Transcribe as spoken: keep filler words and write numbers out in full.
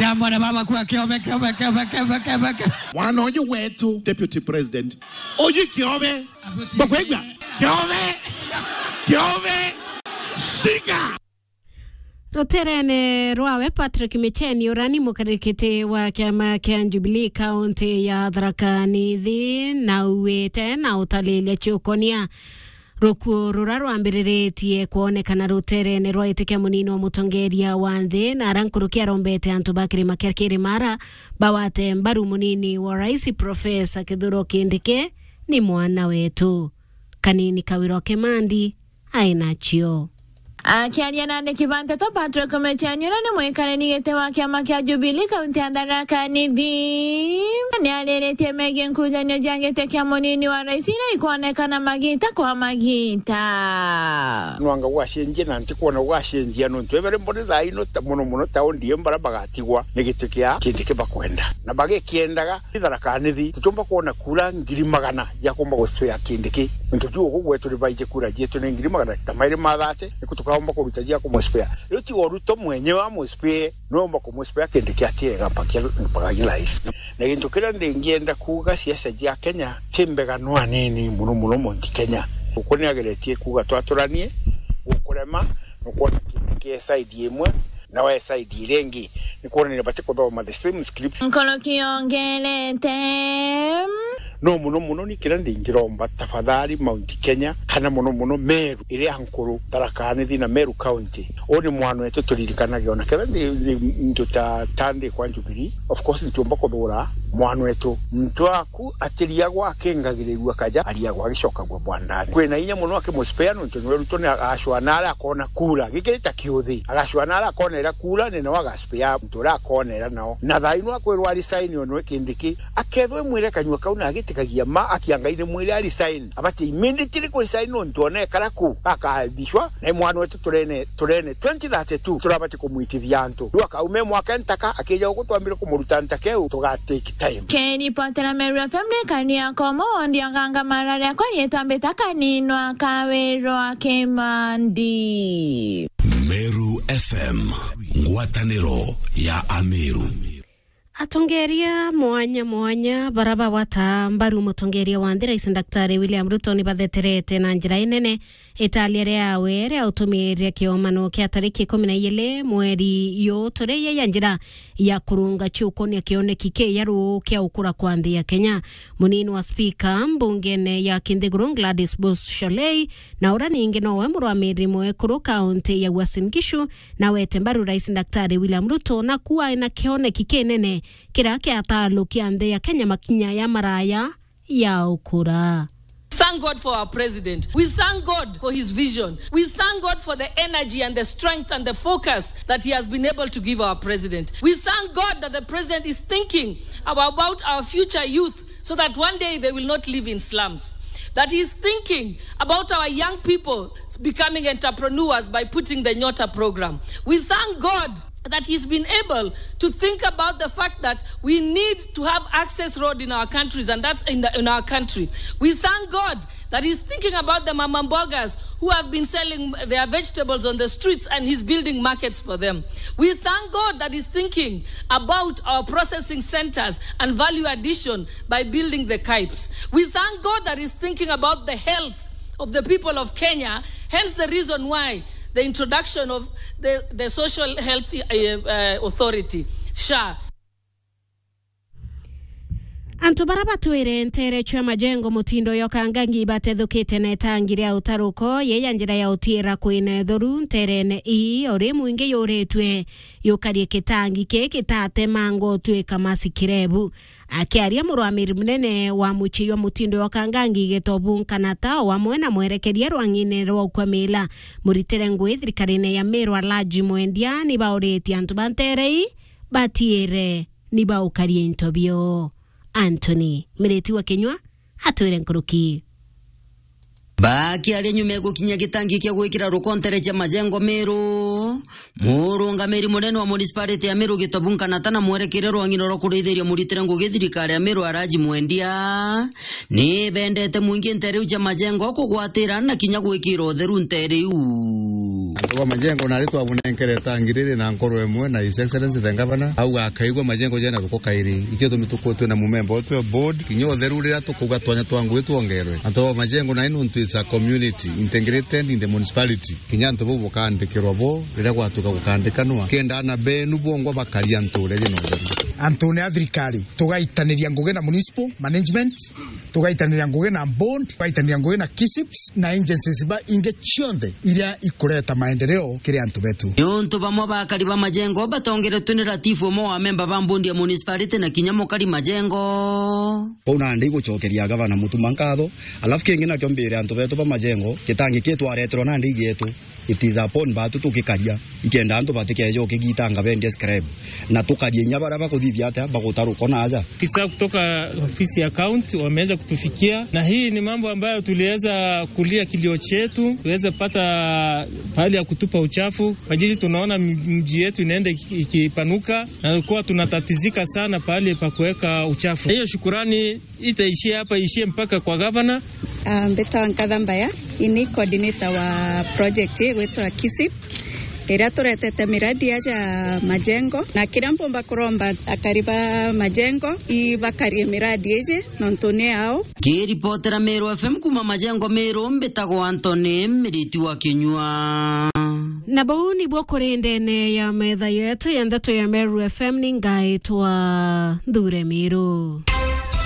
Ya mwana mama kwa kiome, kiome, kiome, kiome, kiome, kiome. Mwana uyu wetu, Deputy President. Uyu kiome. Abuti. Bakwigua? Kiome. Kiome. Shika. Ruterene rwawe, Patrick Micheni, uria ni mukarikiti wa kiama kia Jubilee kaunti ya Tharaka Nithi, nauite na utaliria ciukonia rukuo rura rwambiriritie kwonekana ruterene rwa itikia munini wa mutongeria wa nthi, na ara nkuruki arombete antu ba kirima kia Kirimara bawate mbaru munini wa rais, Professor Kithure Kindiki, ni mwana wetu. Kanini Kawira Kimandi ai nacio. Akiaria na andiki ba nteto, Patrick Micheni, uria ni mwikariri giti wa kiama kia Jubilee kaunti ya Tharaka Nithi, ni ariritie megii nkujanio cia giti kia munini wa rais iria ikwonekana magita kwa magita. Nwanga gwacenjia na ntikwona gwacenjia, nontu ebere mbone thaa ino ta, mono mono ta O D M bara bagatigwa ni giti kia Kindiki bakwenda. Na bagikiendaga, Tharaka Nithi, tutiumba kwona kura ngiri magana ya kumba guspea Kindiki. Nontu tu ugu gwetu ni baiji kura cietu ni ngiri magana ta mairi ma thate, niku tukaumba kuruta cia kumuspea. Riu tiga Ruto mwenyewe amuspee, no umba kumuspea Kindiki atiega mpaka, mpaka ilai. Na gintu kiria ndingienda kuuga, siasa cia Kenya ti mbega no anini, muno muno Mount Kenya. Guku ni ageretie kuuga twaturanie, gukurema, nukwona Kindiki e side imwe, na we side iria ingi, ni kwonania bati kuthoma the same script. Nkoroki yongerete. No muno muno ni kiria ndingiromba, tafadhali, Mount Kenya, kana muno muno Meru iria nkuru, Tharaka Nithi na Meru County. Uu ni mwana wetu turirikanage, ona kethira ni, ni ntu ta, ta ndi kwa Jubilee, of course, ntiumba kuthura mwana wetu. Muntu aku atiriagwa akingagirirua kaja, ariagwa agicokagua bwandani. Kwina inya muno akimuspea, nontu niwe Ruto ni agacua na aria akona kura. Gikiri ta kiuthi. Agacua na aria akona ira kura, ni nawe agaspea muntu uria akona ira nao. Na thaa ino akwirwa resign, o niwe Kindiki. Akethwa imwire kanyua kau na agitikagia ma, akia Ngai ni mwire a resign. Abati immediately ku resign, nontu ona ekara ku, akabicwa. Na mwana wetu turene, turene twenty thirty-two, turabati kumwitithia antu. Riu akaume mwake ntaka, akija guku twambire kumuruta ntaka iu, tuga take time. Kiripotera Meru F M ni Kania Komo, wondi Oganga, mara riakwa rietwa mbita Kaninwa Kawirwa Kimandi. Meru F M, ngwataniro ya Ameru. Atongeria mwanya mwanya bara bagwata mbaru mutongeria wa nthi, Rais Daktari William Ruto, ni batheterete na njira inene italia riawe ria utumiria kiomano kia tariki ikumi na igiri mweri yu turi ya njira ya kurunga ciukonia kioneki kiaru kia ukura kwa nthi ya Kenya. Munini wa spika mbungene ya Kinthiguru, Gladys Bush Sholei, na uria ningi nowe murwamiriri mwekuru kaunti ya Uasin Gishu, na wete mbaru Rais Daktari William Ruto na kuwa ena kioneki kinene kiria kiatalukia nthi ya Kenya makinya ya maraya ya ukura. Thank God for our president. We thank God for his vision. We thank God for the energy and the strength and the focus that he has been able to give our president. We thank God that the president is thinking about our future youth so that one day they will not live in slums. That he is thinking about our young people becoming entrepreneurs by putting the Nyota program. We thank God that he's been able to think about the fact that we need to have access road in our countries, and that's in, the, in our country. We thank God that he's thinking about the mama mbogas who have been selling their vegetables on the streets, and he's building markets for them. We thank God that he's thinking about our processing centers and value addition by building the KAIPs. We thank God that he's thinking about the health of the people of Kenya, hence the reason why the introduction of the, the Social Health, uh, uh, Authority, SHA. Antu bara batwire ntere cia majengo mutindo yoka ngangi batethukite na itangi ria utaruko, ye ya njira ya utiira kwina itheru nterene ii, o ri mwingi yuritwe yukarie kitangi ki kitatemangwa utwika masikirebu. Akiaria murwamiri munene wa mucii jwa mutindo jwa Kangangi Gitobu Nkanata, o amwe na mwerekeria rwang'ine rwa ukwamila muritire ngui thirikarine ya Meru Alhaji Mwendia, ni bauritie antu ba ntere ii batiire ni baukaria into bio. Anthony Miriti wa Kinyua atwire nkuruki. Bakiaria nyuma ya gukinyia gitangi kia gwikira ruko ntere cia majengo Meru, murungamiri munene wa municipality ya Meru Gitobu Nkanata na mwerekeria rwang'ino rwa kurithiria muritire ngugi thirikari ya Meru Alhaji Mwendia, ni bendete mwingi ntere iu cia majengo kugwatira na kinya gwikira utheru ntere iu. Wa Majengo nari twabunenkere tangi riri na nkoro imwe na His Excellency the Governor, auga akaigua Majengo jena ruko kairi. Ikio tumi tukutwe na mumemba utwe board, kinya utheru riria tukuga twanya twa ngui twongerwe. Antu ba Majengo nai nuntu is a community integrated in the municipality. Kinya antu bau bukandikirwa bo riria gwatuka gukandikanwa. Kenda ana benu bongwa bakaria nture jina utheru. Antu ni a thirikari, tugaitaniria ngugi na municipal management, tugaitaniria ngugi na board, tugaitaniria ngugi na KISIPS na agencies ba ingi cionthe iria ikureta maendeleo kiri antu betu. Niuntu bamwe ba akari ba Majengo batongeretwe ni ratibu umwe wa memba ba board ya municipality na kinya mukari Majengo. Kwou nandi igucokeria gavana Mutuma nkatho, alafu kingi nakio mbire antu betu ba Majengo, gitangi ki twareterwa nandi igietu, it is upon batu tugikaria, ikenda antu batikeje ukigitanga bendie scrap, na tukaria inya baria bakuthithia atia bagutaruko na aja. Afisa kutoka ofisi ya county wameweza kutufikia, na hii ni mambo ambayo tuliweza kulia kilio chetu, tuweze pata pahali ya kutupa uchafu, kwa ajili tunaona m-, mji yetu inaenda iki-, ikipanuka, na kuwa tunatatizika sana pahali pa kuweka uchafu. Hiyo shukurani itaishia hapa, ishie mpaka kwa gavana. Ah, mbitawa Nkatha Mbaya, ini coordinator wa project igwitwa KISIP, iria turetete miradi aja Majengo, na kiria mpumba kuromba akari ba Majengo ibakarie miradi iji nontu ni yao. Kiripotera Meru F M kuma Majengo Meru, mbitagwa Anthony Miriti wa Kinyua. Na bau nibuo kuri ndene ya metha yetu ya ndeto ya Meru F M, ni ngaitwa Nthure Miru.